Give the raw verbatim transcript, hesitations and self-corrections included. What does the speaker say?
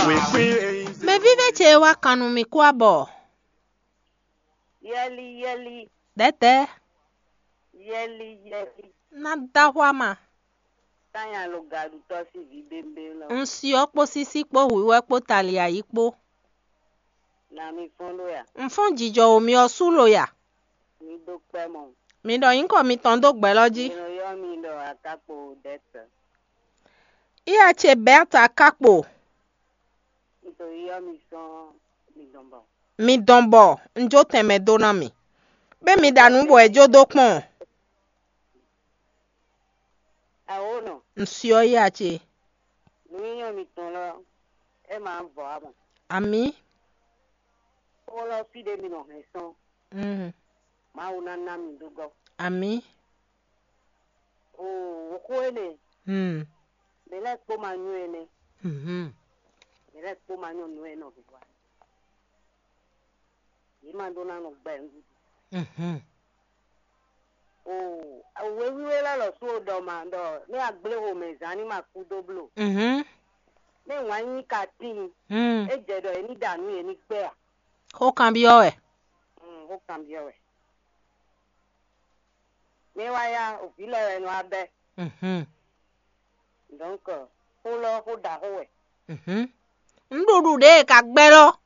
Mɛvívé ce e wá kan nú mì kú abɔ. Yɛli yɛli. Dɛ̌dɛ̌. Yɛli yɛli. Ná dó axwá ma. Tanya lo gaɖutɔ́ sín vǐ bémbé lɔ. Un syɔ́ kpó sísí kpó hwǐhwɛ́ kpó tali ayǐ kpó. Na mi fɔ́n ɖó ya? Un fɔ́n jijɔ wo mi ɔ́ sú lo ya? Mi dó kpɛ́ mɔ. Mi ɖɔ nyǐkɔ mitɔn dó gbɛ̌ lɔ jí. Mi nɔ ylɔ́ mi ɖɔ Akákpo Dɛ̌tɛ. Iya ce Bɛ́ta Akákpo. Un to ylɔ́ mi sɔ́ mi dɔn bɔ. Mi dɔn bɔ un jó tɛnmɛ dó ná mi. Bɛ́ mi ɖa nǔ bɔ è jó dó kpɔ́n. Awo nɔ. Un syɔ́ iya ce. Nǔnywɛ́ mitɔn lɔ, é ma vɔ amɔ. Amǐ. Xó lɔ fí ɖé mi nɔ hɛn sɔn. Mm. Mawu ná ná mi dó gɔ́. Amǐ. Oo, xó énɛ́. Mm. Mɛ lɛ́ɛ kpó ma nyɔ́ énɛ́. Mhm. Mɛ lɛ́ɛ kpó ma nyɔ́ nǔ e nɔ vǐ wa. Yě ma ɖó ná nɔ gbɛ nǔɖuɖu. Mhm. Oo, wěwíwé lɛ́ɛ lɔ sú ɖɔ ma ɖɔ nú agblé xomɛ zán ní ma kú dó bló. Mhm. Nú wǎn nyí ka tíin, Mm. É jɛ ɖɔ yě ní ɖa nǔ yě ní gbɛ́ a? Xó kanbyɔ́ wɛ. Mm, xó kanbyɔ́ wɛ. Mɛ wá ya, òvǐ lɛ́ɛ wɛ nɔ wá bɛ́. Mhm. Donc, xó lɔ xó ɖaxó wɛ. Mhm. Nǔɖuɖu ɖě e ka gbɛ́ lɔ.